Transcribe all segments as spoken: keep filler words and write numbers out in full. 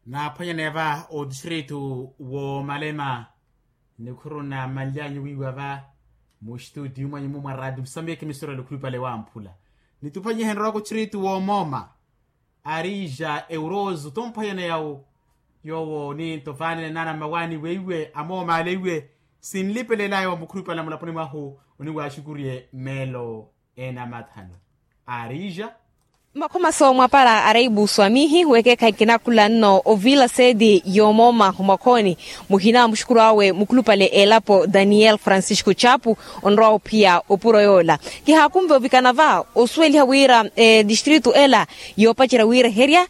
Naaphwanyaneya va otistritu woomalema, nikhuru namanlyanyu wiiwa va mustuti mwanyu mumwa rati musambiki misurelo khulupale wamphula. Nituphwanyihe nrowa kutritu woomooma, arija eurozu tomphwanyaneya wo. Yoowo ninto vaanene naana mmawaani weiwe amooma aleiwe, sinlipelelaya wa mukhulupale mulaponi mwahu oniwaaxukuriye meelo ena mathanu. Arija. Makhoma soomwa para araibu swamihi wekeekha ekinakula nno ovila seti yoomooma omwakhoni. Muhina muxukuru awe mukhulupale elapo daniel francisco chapu, onrowa ophiya opuro yoola. Kihaakunve ovikana va osuweliha wira etistritu ela yoopacerya wiireherya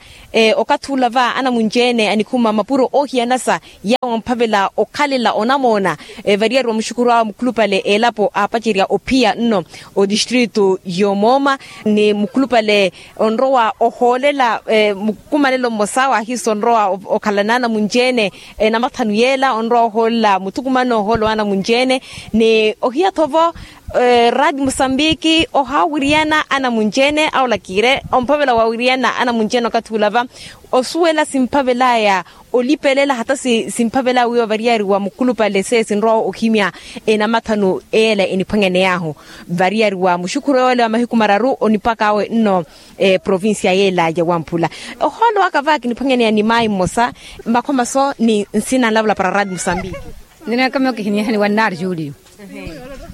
okathi ula va anamunci-ene anikhuma mapuro oohiyanasa, yawo amphavela okhalela onamoona. Variyari wa muxukuru awe mukhulupale elapo aapacerya ophiya nno otistritu yoomooma, ni mukhulupale onrowa ohoolela mukumanelo mmosa waahiisa onrowa okhalana anamunci-ene. Namathanu yeela onrowa ohoolela muthukumano ohoolo wa anamunci-ene, ni ohiya-tho vo rati musambiki ohaawiriyana anamunci-ene awo olakire omphavela waawiriyana anamunci-ene okathi ula va osuwela simphavelaya olipelela hata simphavelaya wiiwa variyari wa mukhulupale sesi nrowa ohimya. Enamathanu eela eniphwanyaney'ahu variyari wa muxukuru yoole wa mahiku mararu onipaka awe nno provincia yeela ya wamphula. Ohoolo waka va kiniphwanyaneya ni maayi mmosa. Makhoma so ni nsina nlavula para rati musambiki. Nneekamiyo kihinihani wannaari juliyo.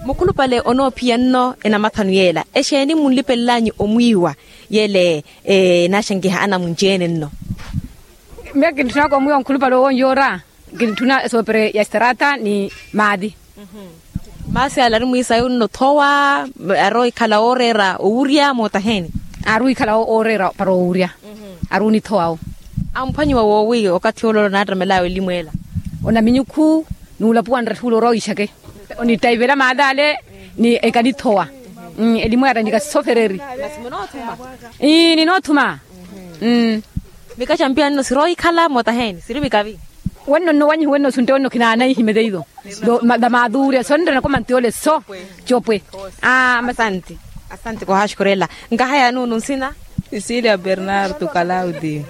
Mukhulupale onoophiya nno enamathanu yeela exeeni munlipelel'anyu omwiiwa? Yeele enaaxankiha anamunci-ene nno. Miyo kintthunaka omwiiwa nkhulupale owo nyoora. Kintthuna esoopere ya estrata ni maati. Maasi ala ari mwiisayu nno thowa. Ari ohikhala ooreera owurya mootaheeni? Ari ohikhala ooreera para owurya. Ari onithowa-wo. Amphwanyiwa woowi okathi olola naattamelawe elimu ela? Onaminyukhu n'ulapuwa nretthuula orowa wiixake. Onitaivela maali ale ni ekanithowa. Elimu ela nikasofereri. Ii ninoothuma. Mikaxampiya nno siroohikhala mootaheeni siri mikavi. Wenno nno wanyihi wenno suntte wenno khinaanaihi meteiyo. Damaduurya sonrena komanti ole so. Copwe. Asante. Asante kohaaxukurela. Nkahaya nuunu nsina? Sisilia bernardo kalaudi.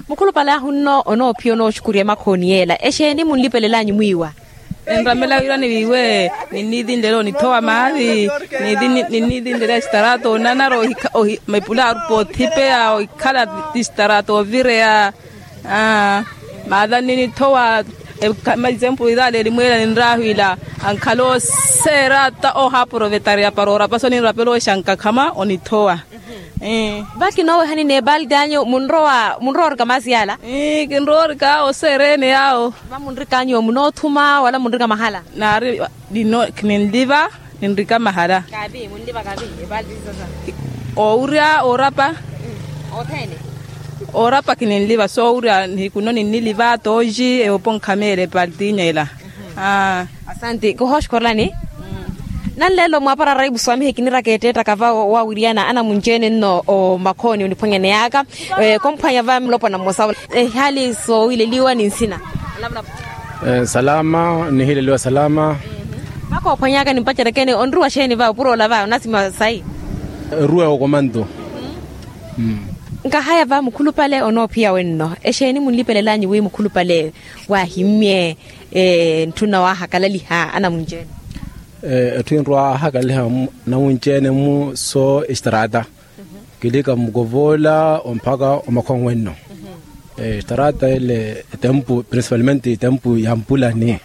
Mukhulupale ahu nno onoophiya onooxukurya emakhooni yeela exeeni munlipelelanyu mwiiwa? Enramela wira ni wiiwe ninniitinlele onithowa maari. Ninniitinlele esitarato onanara mepula arupa othipeya ohikhala ti sitarato ovireya. Maata nninithowa. Exempulu itaale elimweela ninraahwiila ankhala oseera ata ohaaporovetarya para orapa so ninrapela oxankakhama onithowa. Vakinooweha ni neepalti anyu munrowa orika maasi yaala? Kinrowa orika oseera ene yaawo. Vamunrika anyu munoothuma wala munrika mahala? Naari. Kininliva ninrika mahala. Owurya orapa. Orapa kininliva so owurya nihiku nno ninniliva tooji ewoponkha meela epaltinya ela. Asante kohooxukorelani. Nanleelo mwaapara raipu swamihe kiniraka eteettaka va owawiriyana anamunci-ene nno omakhooni oniphwanyaneyaka. Komphwanya va mulopwana mmosa ehali soowileliwa ni nsina. Salama nihileliwa salama. Vakoophwanyaka nimpacerekene onruwa xeeni va opuroola va onasima sayi? Ruwa okomanto. Nkahaya va mukhulupale onoophiya wenno exeeni munlipelelanyu wi mukhulupale waahimmye ntthuna waahakalaliha anamunci-ene? Etthu enrowa ahakalaliha anamunci-ene mu so estrata. Kilika mukovoola omphaka omakhonwenno. Estrata ele etempu principalmente etempu ya mpulani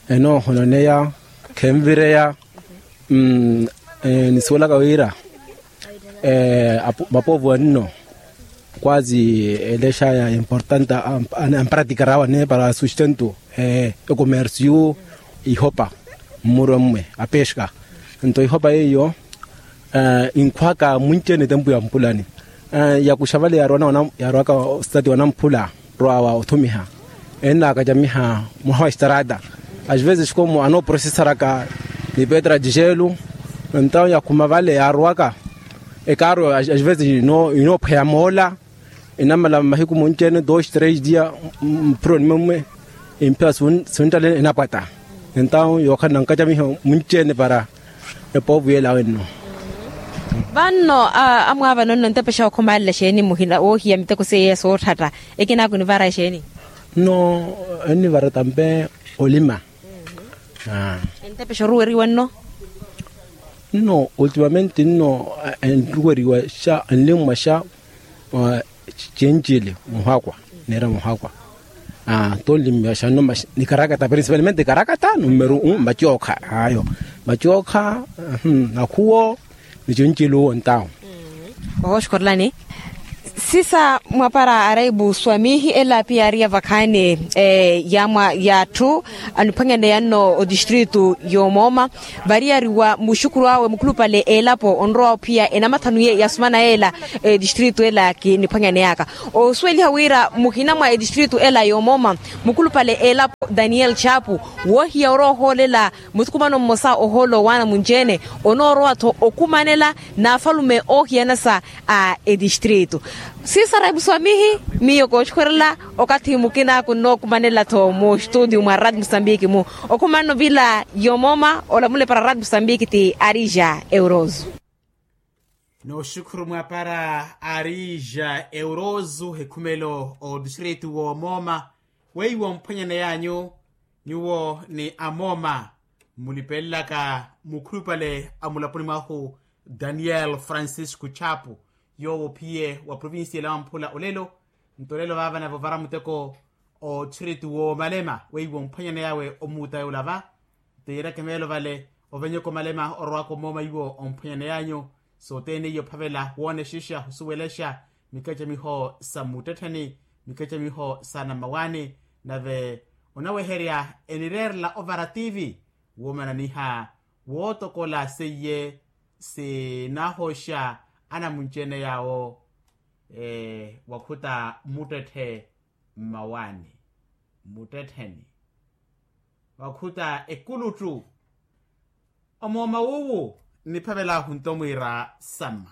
enoohononeya khenvireya. Nisuwelaka wira mapovu anno kwazi elexaya importante amparatikarawa ne para sustento. Ecomercio ihopa mmurwe mmwe apexka. Nto ihopa yeiyo inkhwaka munci-ene etempu ya mpulani. Yakuxa vale yarowaka ositati wa namphula rowa wa othumiha ennaakacamiha mwaha wa estarata. As vezes como anooprosesaraka ni petra de gelo. Entawo yakhuma vale yarowaka ekaru as vezes inoophweya moola. Enamala mahiku munci-ene dos tres dia mpuro nimwe mmwe. Empia sunttale enapwata. Entawo yookhala nankacamiha munci-ene para epovu yela wenno. Vanno amwaavano nno ntepexa okhumalela exeeni muhina woohiya miteko seiya sootthatta? Ekinaaku enivara exeeni? Nno ennivara tampe olima. Entepexa oruweriwa nno? Nno ultimamente nno enruweriwa xa enlimwa xa cencili muhakwa. Neera muhakwa. Tonlimya xa nno nikarakata principalmente karakata numero un macookha ayo macookha. Nakhuwo ni cencili uwo ntawo. Ohooxukhorelani sisa mwapara araibu swamihi ela piya ari ya vakhaani ya atthu aniphwanyaneya nno otistritu y'omooma. Variyari wa muxukuru awe mukhulupale elapo onrowa ophiya enamathanu ye yasumana yela. Etistritu ela kiniphwanyaneyaka osuweliha wira muhina mwa etistritu ela y'omooma mukhulupale elapo daniel chapu woohiya orowa ohoolela muthukumano mmosa ohoolo waana munci-ene onoorowa-tho okumanela n'afalume oohiyana sa a etistritu. Sisara epuso amihi miyo kooxukhwerela okathi mukina kunnookumanela-tho muxtutiyu mwa rati musambiki-mu okhumanno vila yomooma olamula epara rati musambiki ti arija euroso. Nooxukhuru mwapara arija euroso ekhumelo otistritu woomooma weiwo mphwanyaneyanyu nyuwo ni amooma mmulipelelaka mukhulupale a mulaponi mwahu daniel francisco chapu yoowo ophiye wa provincia ela wamphula olelo. Nto olelo vaava nave ovara muteko othiritu woomalema weiwo mphwanyaneyawe omuuta yoola va. Nto yeeryaka emeelo vale ovenyeka omalema orowaka omooma iwo omphwanyaneyanyu sothene iyo ophavela woonexexa osuwelexa mikacamiho sa muttettheni mikacamiho sa nammawaani. Nave onaweherya enireerela ovara tivi woomananiha wootokola seiye sinahosha anamunci-ene yaawo wakhuta muttetthe mmawaani muttettheni wakhuta ekuluttu. Omooma wuuwu nniphavelaahu nto mwiira samma